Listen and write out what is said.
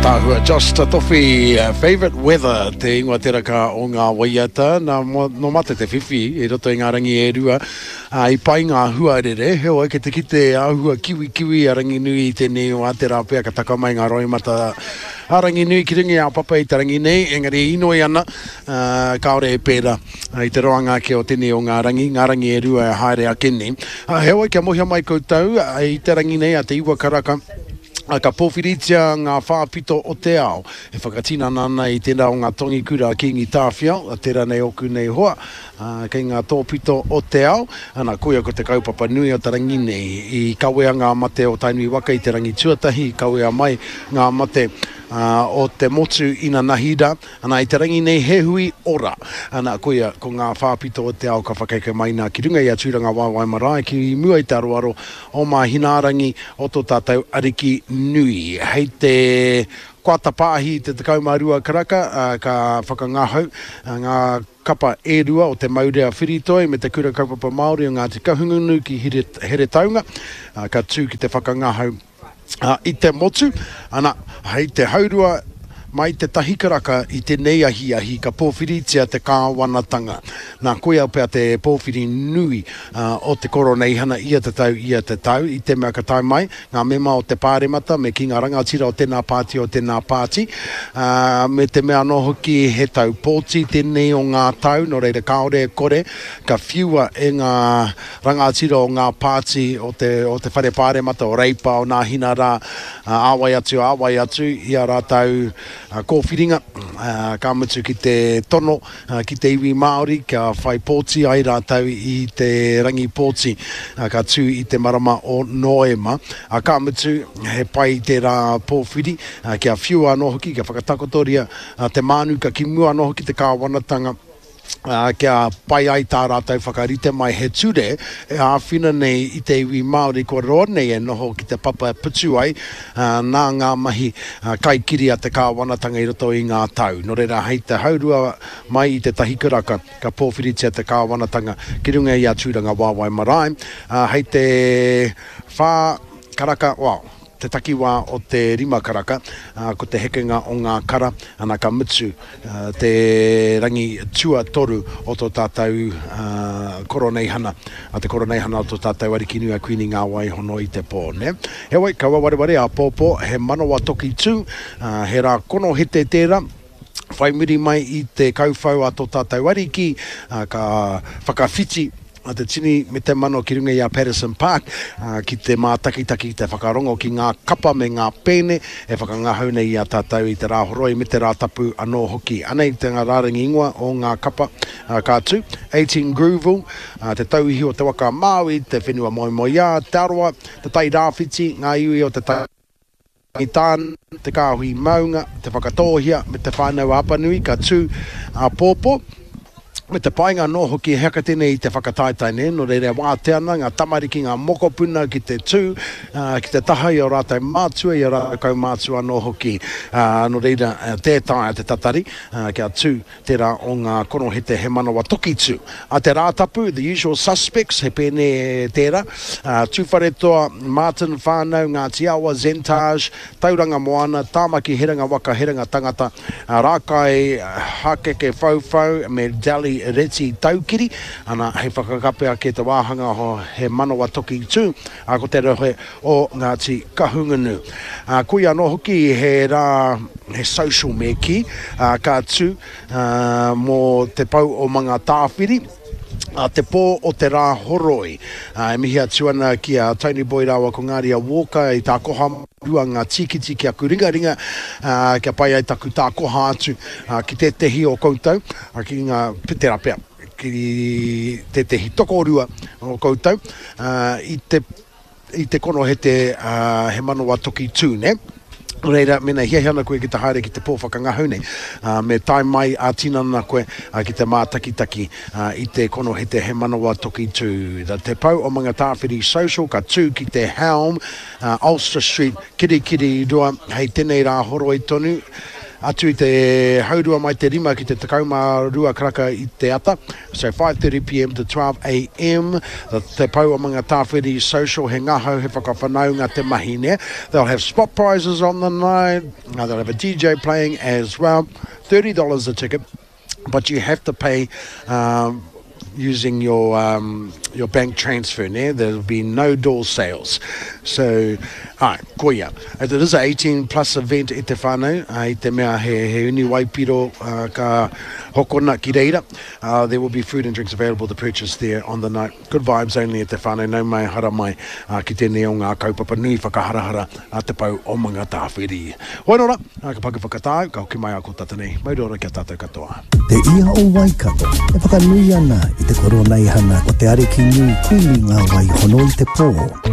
Ataahua Josh Tatofi, Favourite Weather te ingoa teraka o ngā waiata. Nā, nō mate te whiwhi i roto i ngā rangi e rua, ā, i pai ngā huarere, heoi kei te kite āhua kiwikiwi a Ranginui i tēnei wā, tērā pea ka taka mai ngā roimata a Ranginui ki runga i a Papa i te rangi nei, engari e inoi ana, ā, kāore e pērā i te roanga ake o tēnei o ngā rangi, ngā rangi e rua e haere ake nei. Ā, heoi kia mōhio mai koutou, i te rangi nei a te iwa karaka, ka pōwhiritia ngā whāpito o te ao e whakatinana ana i tērā o ngā tongikura a Kīngi Tāwhiao, tērā nei ōku nei hoa, kei ngā tōpito o te ao, ana, koia ko te kaupapa nui o te rangi nei. I kawea ngā mate o Tainui waka i te rangi tuatahi, i kawea mai ngā mate o te motu inanahi rā, ana, i te rangi nei he hui ora, ana, koia ko ngā whāpito o te ao ka whakaeke mai nā ki runga i a Tūrangawaewae marae ki mua i te aroaro o Māhinaarangi o tō tātou Ariki nui. Hei te koata pāhi i te 12 karaka ka whakangahau ngā kapa e rua o Te Maurea Whiritoi me Te Kura Kaupapa Māori o Ngāti Kahungunu ki Heretaunga ka tū ki te whakangahau i te motu. Ana, hei te haurua mai te tahi karaka i tenei ahiahi ka pōwhiritia te kāwanatanga. Nā, koia pea te pōwhiri nui o te Koroneihana ia te tau, ia te tau, i te mea ka tae mai ngā mema o te Pāremata me kī ngā rangatira o tēnā pāti, o tēnā pāti, ā, me te mea anō hoki he tau pōti tēnei o ngā tau, nō reira kāore e kore ka whiua e ngā rangatira o ngā pāti o te, o te Whare Pāremata, o Reipa, o Nāhina rā, ā wai atu, ā wai atu, i ā rātou kōwhiringa, ka mutu ki te tono ki te iwi Māori kia whai pōti ai rātou i te rangi pōti ka tū i te marama o Noema. Ka mutu, he pai tērā pōwhiri kia whiua anō hoki, kia whakatakotoria te mānuka ki mua anō hoki te kāwanatanga, ā, kia pai ai tā rātou whakarite mai he ture e āwhina nei i te iwi Māori kua roa nei e noho ki te papa e putu ai, ā, nā ngā mahi kaikiri a te kāwanatanga i roto i ngā tau. Nō reira, hei te haurua mai i te tahi karaka ka pōwhiritia te kāwanatanga ki runga i a Tūrangawaewae Marae, ā, hei te whā karaka, well, te takiwā o te rima karaka, ā, ko te hekenga o ngā kara, ana ka mutu te rangi tuatoru o tō tātou Koroneihana, te Koroneihana o tō tātou Arikinui a Kuini Ngāwaihono i te pō, nē. Heoi, kaua wareware, āpōpō, he manawa toki tū, he rā konohete tērā, whai muri mai i te kauwhau a tō tātou Ariki, ka whakawhiti a te tini me te mano ki runga i a Patterson Park, ki te mātakitaki, ki te whakarongo ki ngā kapa me ngā pēne e whakangahau nei i a tātou i te Rāhoroi me te Rātapu anō hoki. Anei te rārangi ingoa o ngā kapa ka tū, 18 Grooville, Te Tauihi o Te Waka a Māui, Te Whenua Moemoeā, Te Arawa, Te Tai Rāwhiti, Ngā Iwi o Te Tai. Tāne, Te Kāhui Maunga, Te Whakatōhea me Te Whānau-a-Apanui ka tū āpōpō, me te painga anō hoki he haka tēnei i te whakataetae nei, nō reira e wātea ana ngā tamariki, ngā mokopuna ki te tū, ki te taha i ō rātou mātua, i ō rātou kaumātua anō hoki, nō reira tē taea te tatari kia tū Tērā o ngā konohete he manawa tokitu. A te Rātapu, The Usual Suspects, he pēne tērā. Tūwharetoa, Martin Whānau, Ngāti Awa, Zentage, Tauranga Moana, Tāmaki Herenga Waka Herenga Tangata, Rākai Hakeke Whauwhau me Dally Reti Taukiri. Ana, hei whakakape ake te wāhanga he manawa tokitu, ko te rohe o Ngāti Kahungunu. Koia anō hoki he rā, he social me kī, ka tū mō te pou o Mangatāwhiri, te pō o te rā horoi. E mihi atu ana ki a Tony Boy rāua ko Ngāria Walker i tākoha rua ngā tīkiti ki aku ringaringa, kia pai ai taku tākoha atu ki tētehi o koutou, ki ngā, tērā pea, ki tētehi tokorua o koutou, i te i te konohete he manawa toki tū, nē? Nō reira, mēnā e hiahia ana koe ki te haere ki te pō whakangahau nei, me tae mai ā-tinana koe ki te mātakitaki i te konohete He Manawa Toki Tū. Te Pou o Mangatāwhiri Social ka tū ki te Helm, Ulster Street, Kirikiriroa, hei tenei rā horoi tonu. Atu i te haurua mai te rima ki te 12 karaka i te ata, so 5.30pm to 12am, Te Pou o Mangatāwhiri Social, he ngahau, he whakawhanaunga te mahi, nē? They'll have spot prizes on the night, they'll have a DJ playing as well, $30 a ticket, but you have to pay um, using your um, your bank transfer, nē? There'll be no door sales. So, ai, koia. It is a 18 plus event e te whānau, i te mea he, he uni waipiro uh, ka hokona ki reira. Uh, there will be food and drinks available to purchase there on the night. Good vibes only e te whānau, nau mai, hara mai uh, ki tēnei o ngā kaupapa nui whakaharahara a Te Pou o Mangatāwhiri. Hoi nō rā, ka paku whakatāu, ka hoki mai a ko tata nei. Mauri ora ki a tātou katoa. Te Ia o Waikato e whakanui ana i te Koroneihana o te Arikinui Kuini Ngā Wai Hono i te Pō.